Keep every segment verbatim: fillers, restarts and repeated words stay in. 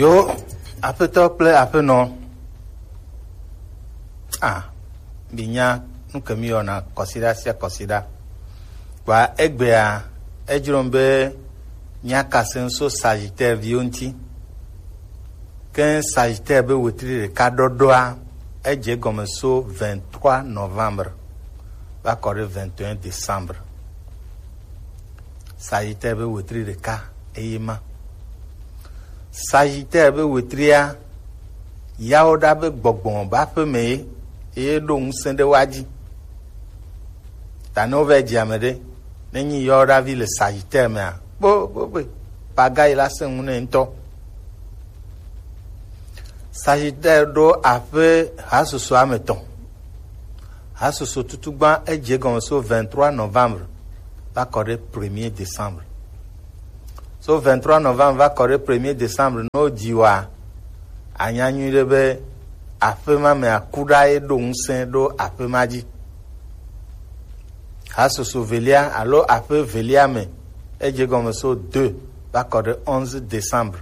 Yo, aƒetɔ kple aƒenɔ. Ah, minya nu ke mi yɔna kɔsiɖa sia kɔsiɖa. Kpa egbea, edzrom be míakase ŋu so Sagittaire viwo ŋuti. Ke Sagittaire be wetri ɖeka ɖɔɖɔa, edze egɔme so vingt-trois novembre va kɔ ɖe vingt et un décembre. Sagittaire be wetri ɖeka eye ma. Sagittaire be wetria, yawo ɖa be gbɔgbɔ be aƒe me ye, eye ɖo ŋusẽ ɖe wa dzi. Ta ne wova dzi ame ɖe, ne nyi yawo ɖa vi le Sagittaire mea, kpo, kpo, kpo, paga yi la sẽ ŋu nɛ ŋutɔ. Sagittaire ɖo aƒe hasoso ame tɔn. Hasoso tutugba edze gɔme so vingt-trois novembre va kɔ ɖe premier décembre. So vingt-trois novembre va kɔ ɖe premier décembre, ne wodzi wa, anya nyuiɖe be aƒe ma me akuɖa ye ɖo ŋusẽ ɖo aƒe ma dzi. Hasoso velia alo aƒe velia me, edze gɔme so deux va kɔ ɖe onze décembre.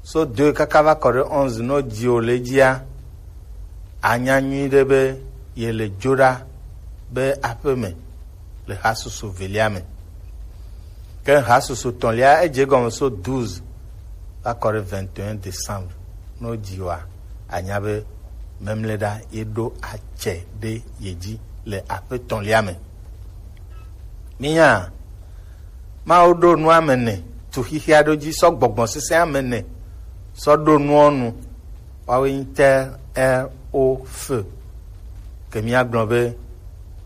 So deux kaka va kɔ ɖe onze, ne wodzi wo le edzia, anya nyuiɖe be ye le dzo ɖa be aƒe me le hasoso velia me. Ke hasoso tɔ̃lia, edze gɔme so douze va kɔ ɖe vingt et un décembre. Ne wodzi wa, anya be memle ɖa ye ɖo atsɛ ɖe ye dzi le aƒe tɔ̃lia me. Minya, Mawu ɖo nu ame ene tu xixia ɖo dzi sɔ gbɔgbɔ sesẽ ame ene sɔ ɖo nuɔ nu. Woawoe nyi terre, air, eau, feu. Ke míagblɔ be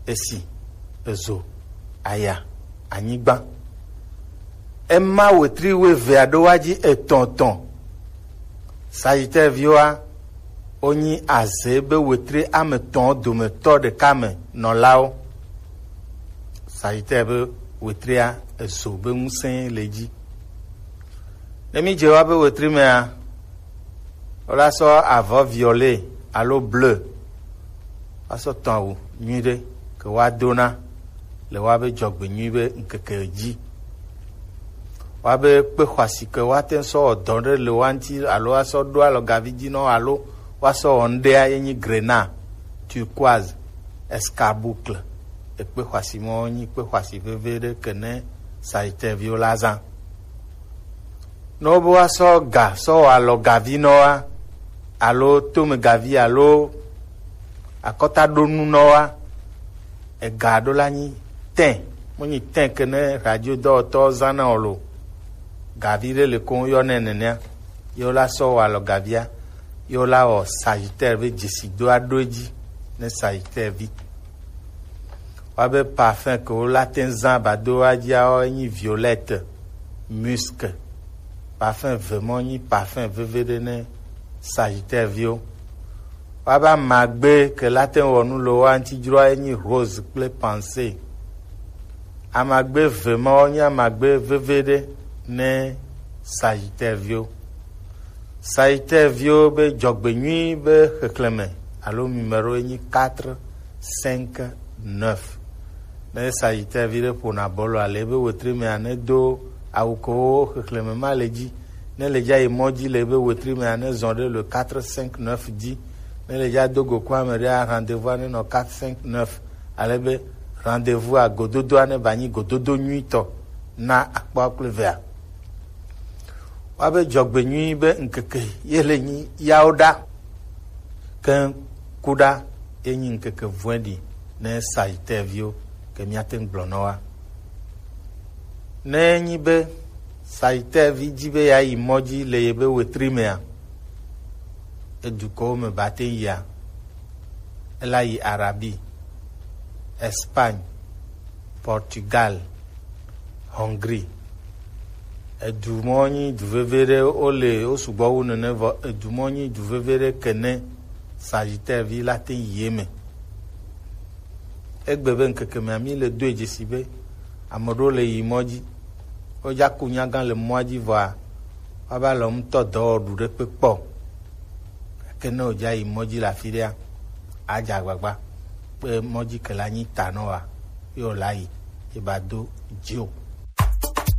esi, ezo, aya, anyigba. Ema wetri wuevea ɖo wa dzi etɔ̃ etɔ̃. Sagittaire viwoa, wonyi aze be wetri ame etɔ̃ dometɔ ɖeka me nɔlawo. Sagittaire be wetria, ezo be ŋusẽ le edzi. Ne mídze wa be wetri mea, wola sɔ avɔ violet alo bleu asɔ tɔ̃ awu nyuiɖe ke woadona le woabe dzɔgbenyui be ŋkeke dzi. Woabe kpe xɔasi ke woate ŋu sɔ wɔ dɔ ɖe le woa ŋuti alo woasɔ ɖo alɔgavi dzi nɔ alo woasɔ wɔ ŋɖea ye nyi grenat, turquoise, escarboucle. Ekpe xɔasi mɔ nyi kpe xɔasi veve ɖe ke ne Sagittaire viwo la zã. Ne wobe woasɔ ga sɔ wɔ alɔgavi nɔ wa, alo tomegavi alo akɔtaɖonu nɔ wa, ega ɖo la nyi tin, menyi tin ke ne radio dɔwɔtɔwo zãna o lo. Gavi ɖe le ko woyɔnɛ nenea, ye wola sɔ wɔ alɔgavia, ye wola wɔ Sagittaire be dzesidoa ɖo edzi ne Sagittaire vi. Woabe parfum ke wola te ŋu zã ba do wa dzia, woawoe nyi violette, musc. Parfum ve mɔ nyi parfum veve ɖe ne Sagittaire viwo. Woabe amagbe ke la te ŋu wɔ nu le woa ŋuti dzroa ye nyi rose kple pensée. Amagbe ve mawo nye amagbe veve ɖe ne Sagittaire viwo. Sagittaire viwo be dzɔgbenyui be xexlẽme alo numéro ye nyi quatre cinq neuf. Ne Sagittaire vi ɖe ƒona bɔlua le ebe wetri mea, ne do awu kewo xexlẽme ma le dzi. Ne le dza yi mɔ dzi le ebe wetri mea, ne zɔ ɖe le quatre cinq neuf dzi. Ne le dza do go ku ame ɖea, rendez-vous ne nɔ quatre cinq neuf. Ale be rendez-vous a gododoa ne ba nyi gododo nyuitɔ na akpɔ kple vea. Woabe dzɔgbenyui be ŋkeke ye le nyi yawo ɖa. Ke ku ɖa ye nyi ŋkeke vɔ̃ɖi ne Sagittaire viwo ke míate ŋu gblɔ nɔ wa. Ne enyi be Sagittaire vi dzi be yeayi mɔ dzi le yebe wetri mea, edukɔwo me ba te yia, ela yi Arabie, Espagne, Portugal, Hongrie. Edu mɔ nyi du veve ɖe, wo le, wo sugbɔ wu nene, vɔ edu mɔ nyi du veve ɖe ke ne Sagittaire vi la te yi eme. Egbe be ŋkeke mea, mi le doe dzesi be ame ɖewo le yi mɔ dzi. Wodza ku nyagã le mɔa dzi vɔa, woava le ŋutɔ dɔ wɔ ɖu ɖe kpe kpɔ. Gake ne wòdza yi mɔ dzi le afi ɖea, adze agbagba be mɔ dzi ke la nyi ta nɔ wa, ye wòla yi, ye ba do dzi o.